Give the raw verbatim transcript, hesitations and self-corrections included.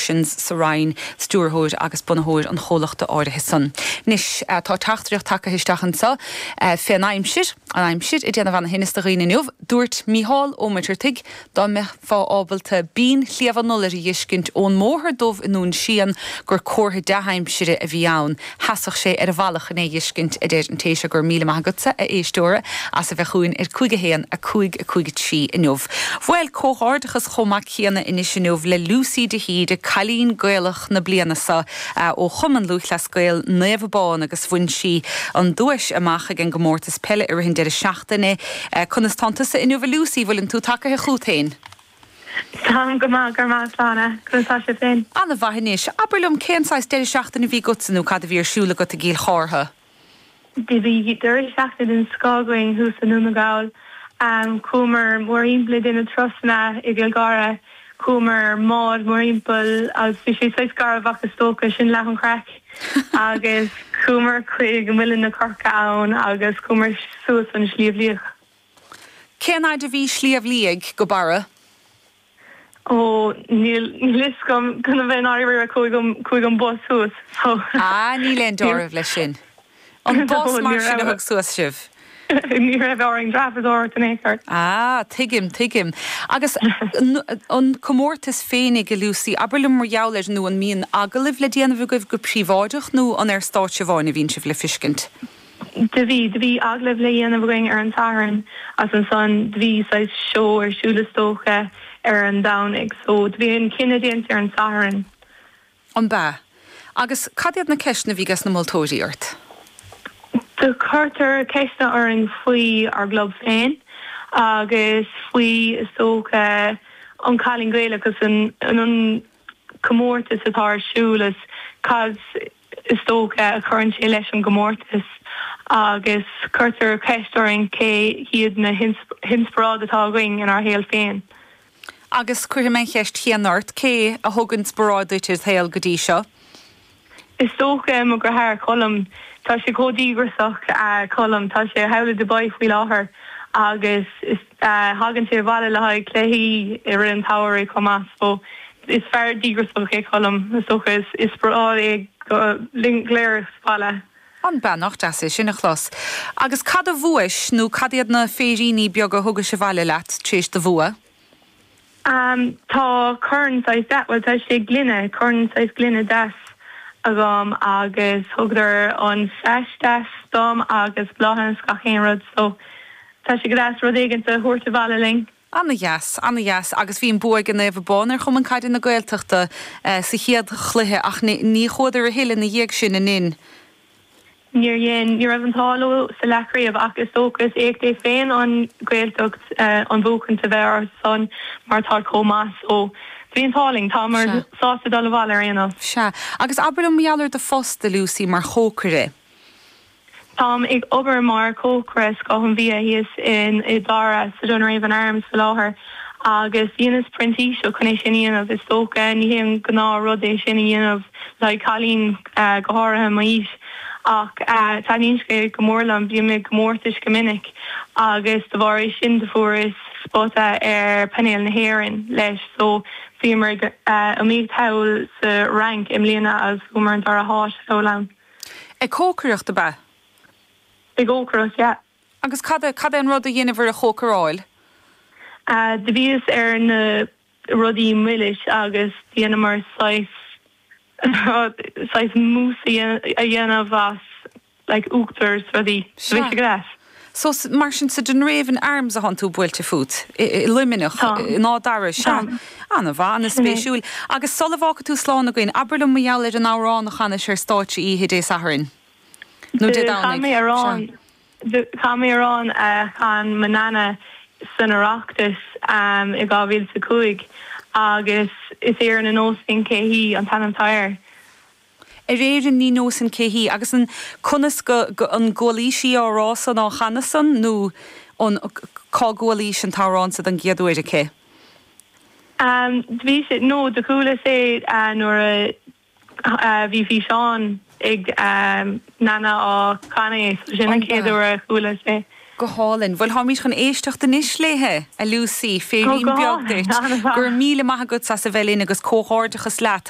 Productions sa Rinn, stiúrthóir agus bunaitheoir an chomhlachta áirithe san. Anois tá teachtaireacht tagtha isteach anseo fén aimsir an aimsir ag déanamh an-thinnis do dhaoine inniu, dúirt Mícheál Ó Muircheartaigh dá mbeifeá ábalta binn Shliabh an Iolair a fheiscint ón mbóthar dubh i nDún Síon gur comhartha dea-aimsire a bhí ann. Sheasfadh sé ar a bhealach chun é a fheiscint a deir an té seo go raibh míle maith agatsa a éisteora as a bheith chugainn ar cúig a haon a cúig a cúig a trí inniu. Bhuel comhghairdeachas chomh maith céanna anois inniu le Lucy de hÍde cailín Gaelach na bliana seo ó Chumann Lúthchleas Gael Naomh Abán agus bhain sí an duais amach ag an gcomórtas peile i rith an deireadh seachtaine. Conas tánn tusa inniu a Lucy bhfuileann tú tagaithe chugat féin. Tá go maith go maith Sláine conas tá sibh féin. An-mhaith anois, abair liom cén saghas deireadh seachtaine a bhí agatsa nó cad a bhí ar siúl agat i gCill Chártha. Do bhí deireadh seachtaine den scoth againn thuas i nDún na nGall. Um, chuamar mórthimpeall ag déanamh turasanna i gCill Dara, chuamar bád mórthimpeall agus bhí sé saghas garbh ach is dócha sin leath an chraic agus chuamar chuig Muileann na Coirce ann agus chuamar suas an Sliabh Liag. Cén fhad a bhí Sliabh Liag go Barra? Ó níl níl gom gona bheith áir chuig an bus suas. Ah níl aon dealramh leis sin. An bus mar sin a thug suas sibh. Ní raibh orainn dreapadóireacht in aon chor. Ah, tuigim, tuigim. Agus an comórtas féinig a Lucy, abair liom mar gheall air nó an mbíonn agallaimh le déanamh agaibh go príobháideach nó an ar stáitse amháin a bhíonn sibh le feiscint. Do bhí do bhí agallamh le dhéanamh againn ar an Satharn as ansan do bhí saghas seó ar siúl is dócha ar an Domhnach, so do bhí an cinneadh déanta ar an Satharn. An b'ea. Agus cad iad na ceisteanna a bhí ag na moltóirí ort? Do cuirtear ceisteanna orainn faoi ár gclub féin agus faoi is dócha an Cailín Gaelach agus an an comórtas atá ar siúl is cad is dócha a chuireann sé leis an gcomórtas agus cuirtear ceist orainn cé hiad na hinspioráid atá againn inár saol féin. Agus cuirfidh mé an cheist chéanna ort cé a thug inspioráid duit i do shaol go dtí seo? Is dócha mo dheartháir Colm tá sé chomh díograiseach uh, Colm tá sé thall i Dubai faoi láthair agus is uh, thagann sé abhaile le haghaidh cluichí i rith an tsamhraidh chomh maith so is fear díograiseach é Colm is dócha is is é go léir baile. An beannacht as é sin a chlos. Agus cad a bhuaigh nó cad iad na féiríní beaga a thugais abhaile leat tréis do bhua? Um, tá corn saghas de well tá sé gloine corn saghas gloine deas agam agus thugadar an feisteas dom agus bláthanna is gach aon rud so tá sé go deas rud éigin a thabhairt abhaile linn. An-dheas, an-dheas agus bhí an bua ag Naomh Abán ar Chumann Caide na Gaeltachta uh, sa chéad chluiche ach ní chuadar a thuilleadh ina dhiaidh sin in in. Níor dhein ní raibh an t-ádh leo sa leathchraobh ach is dócha is éacht é féin an Ghaeltacht uh, an bhuachan a bheith ar son mar tá chomh maith so bhí an t-ádh linn tá mar sásta dul abhaile ar aon nós. Sea, agus abair liom mar gheall ar do phost a Lucy mar chócaire. Táim ag obair mar chócaire scoth an bhia thíos in i Dara sa Dunraven Arms sa láthair agus dheineas printíseacht chun é sin a dhéanamh is dócha ní hé an gnáthrud é sin a dhéanamh le cailín uh, go háirithe m'aois ach uh, taitníonn sé go mór liom bím i gcomórtais go minic agus de bharr é sin do fuaireas spota ar painéal na hÉireann leis so bhíomar uh, iomaíocht thall sa Fhrainc i mbliana agus fuaireamar an dara háit thall ann. Ag cócaireacht ab ea? Ag cócaireacht, yeah. Agus cad cad é an rud a dhéanamh ar a chócaráil? Uh, do bhíos ar na rudaí milis agus dheineamar saghas saghas mousse a dhéanamh as like uachtar rudaí bhí sé go So mar sin sa Dunraven Arms a thánn tú buailte fút i Luimneach ná Dara sea an-mhaith an-spéisiúil. Agus sula bhfágfaidh tú slán againn, abair liom mar gheall ar an amhrán a chanais ar stáitse oíche Dé Sathairn. Nó Dé Domhnaigh. Chan mé amhrán a chan mo nana san Oireachtas um, i dhá mhíle a cúig agus is Éire Ní Neosfainn Cé hí an t-ainm atá air. Ar Éirinn ní neosfainn cé hí agus an conas go, go an gcualaís í á rá san á chanadh san nó an cá gcualaís an t-amhrán sa den gcéad uair aici? Um, bhí sé nó do chuala sé uh, nuair a uh, bhí físeán ag um, nana á chanadh sin an chéad uair a chuala sé. Go hálainn, Bhuel táimid chun éisteacht anois léithe a Lucy féirín beag duit, gur míle maith agat as a bheith linn agus comhghairdeachas leat